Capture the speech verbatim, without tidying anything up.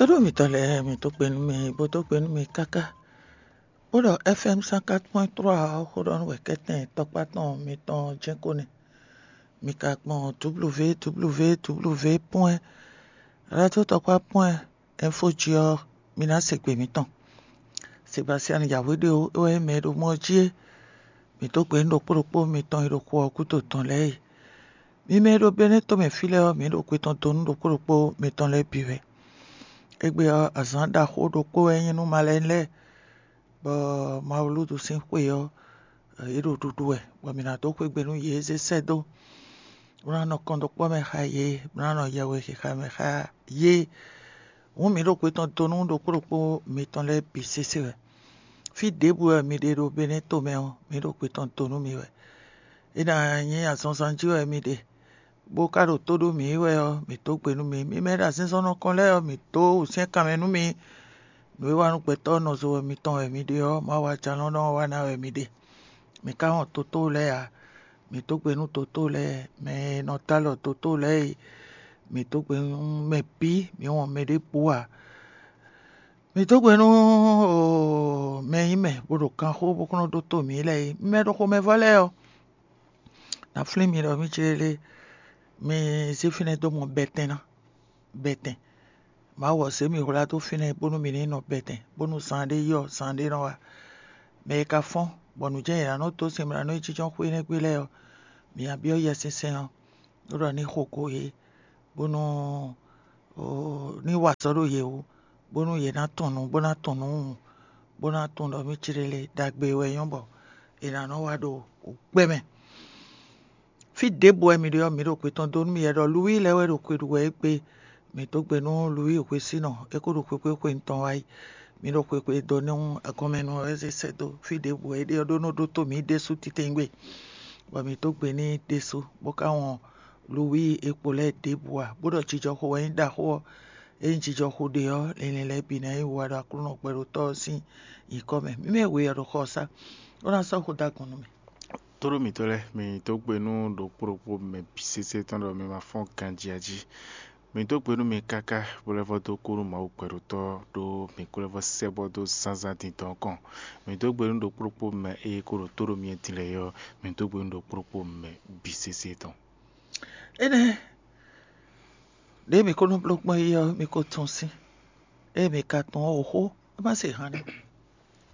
Tóɖó mitɔn lɛ́ɛ, mi dó gbe nú mì, bó dó gbe nú mì káká, bó ɖɔ F M cent quatre point trois ɔ́ xó ɖɔ nú wɛ kɛ́tɛn tɔkpá tɔn mitɔn jɛ́n ko nɛ́. Mi ka gbɔn W W W point radio tɔkpá point info jí ɔ́, mi ná se gbe mitɔn. Sebastian Yahweh ɖe ó, é wɛ nyí mɛ e ɖo mɔ ɔ́ jí é. Mi dó gbe nú ɖokpó ɖokpó mitɔn e ɖo xu ɔ́ gúdo tɔn lɛ́ɛ e. Mi mɛ e ɖo Benɛ́ tomɛ fí lɛ́ɛ ɔ́, mǐ ɖo gbe tɔn dó nú ɖokpó ɖokpó mitɔn lɛ́ɛ bǐ wɛ. Égbé ɔ́, azǎn ɖaxó ɖokpó wɛ nyí nú malɛnu lɛ́ɛ, bɔ Mawulúdu sín xwe ɔ́, yě ɖo ɖuɖu wɛ, bɔ mǐ ná dó xwé gbe nú yě zé sɛ́ dó, bó ná nɔ kɔndɔkpɔ́ mɛ xá yě, bó ná nɔ yɛhwexixa mɛ xá yě. Hǔn mǐ ɖo gbe tɔn dó nú ɖokpó ɖokpó mitɔn lɛ́ɛ bǐ sésé wɛ. Fí ɖěbǔ wɛ mi ɖe ɖo Benɛ́ tomɛ ɔ́, mǐ ɖo gbe tɔn dó nú mi wɛ. É ná nyí azɔnzán jí wɛ mi ɖe, bó ka ɖo tó ɖó mǐ wɛ ɔ́, mǐ dó gbe nú mi. Mi mɛ e ɖo azinzɔnnɔ kɔn lɛ́ɛ ɔ́, mǐ dó wǔsyɛ́n kanmɛ nú mi. Nǔ e wa nú gbɛtɔ́ nɔzo wɛ mitɔn wɛ mi ɖe ɔ́, Mawu Ajalɔ̌nlɔn ɔ́ wa ná wɛ mi ɖe. Mǐ ka wɔn toto lɛ́ɛ ǎ. Mǐ dó gbe nú toto lɛ́ɛ, mɛ e nɔ dó alɔ toto lɛ́ɛ e. Mǐ dó gbe nú mɛ bǐ, mǐ wɔn mɛ ɖěbǔ ǎ. Mǐ dó gbe nú mɛ e nyí mɛ bó ɖo kanxó bó kún nɔ ɖótó mǐ lɛ́ɛ é. Mi mɛ ɖo xomɛvɔ́ lɛ́ɛ ɔ́, ná flín mi ɖɔ mí céɖéɖé, mi zé fínɛ́ dó mɔ bɛtɛn ná, bɛtɛn. Mawu ɔ́ zé mì hwlá dó fínɛ́ bónú mǐ ní nɔ bɛtɛn, bónú zaanɖé yi ɔ́, zaanɖé nɔ wá. Mɛ e ka fɔ́n, bɔ nǔ jɛ́n è nǎ nɔ́ dó sɛn mɛ nǎ nɔ yi jínjɔ́n xwé énɛ́ gbe lɛ́ɛ ɔ́, mǐ ná byɔ́ Yɛ sinsɛn ɔ́, bó ɖɔ ní xo go yě, bónú ní wa azɔ̌ ɖo yě wú, bónú yě ná tunwun nǔ, bó ná tunwun nǔ, bó ná tunwun ɖɔ mí céɖéɖé ɖagbe wɛ nyɔ́ bɔ è nǎ nɔ wa ɖo gbɛ mɛ. Fí ɖěbǔ wɛ mi ɖe ɔ́, mǐ ɖo gbe tɔn dó nú mi wɛ ɖɔ Luwíi lɛ́ɛ wɛ ɖo xwe ɖu wɛ égbé. Mǐ dó gbe nú Luwíi hwesínɔ, é ko ɖo xwexwé xwe mitɔn wá yi. Mǐ ɖo xwexwé dó nú agɔnmɛnú wɛ zé sɛ́ dó fí ɖěbǔ wɛ é ɖe ɔ́ ɖó nɔ ɖótó mǐ ɖésú titewungbe, bɔ mǐ dó gbe n'i ɖésú, bó ka wɔn Luwíi e kpo lɛ́ɛ ɖěbǔ ǎ, bó ɖɔ jijɔxo wɛ nyí ɖaxó ɔ́. Ényí jijɔxo ɖe ɔ́, linlin lɛ́ɛ bǐ ná nyí wiwa ɖo Aklúnɔ gbɛɖótɔ́ ɔ́ sín nyǐkɔ mɛ. Mǐ mɛ we ɔ́ ɖo xɔ ɔ́ sá, bó ná sɔ́ xó dó agɔn nú mì. Tóɖó mǐtɔn lɛ́ɛ, mǐ dó gbe nú ɖokpó ɖokpó mɛ bǐ sésé tɔn ɖɔ mi ma fɔ́n ganjí ǎ jí. Mǐ dó gbe nú mi káká, bó lɛ́ vɔ́ dó kú nú Mawu gbɛɖótɔ́ ɖó mǐ kú lɛ́ vɔ́ sɛ́ bɔ dó zǎnzǎn dindɔn kɔn. Mǐ dó gbe nú ɖokpó ɖokpó mɛ e ko ɖo tó ɖo myɛ din lɛ́ɛ ɔ́, mǐ dó gbe nú ɖokpó ɖokpó mɛ bǐ sésé tɔn. Énɛ́ ɖěe mǐ ko nɔ bló gbɔn é ɔ́, mi ko tunwun sín. Ée mǐ ka tunwun ɔ́, xó é má se han nɛ́.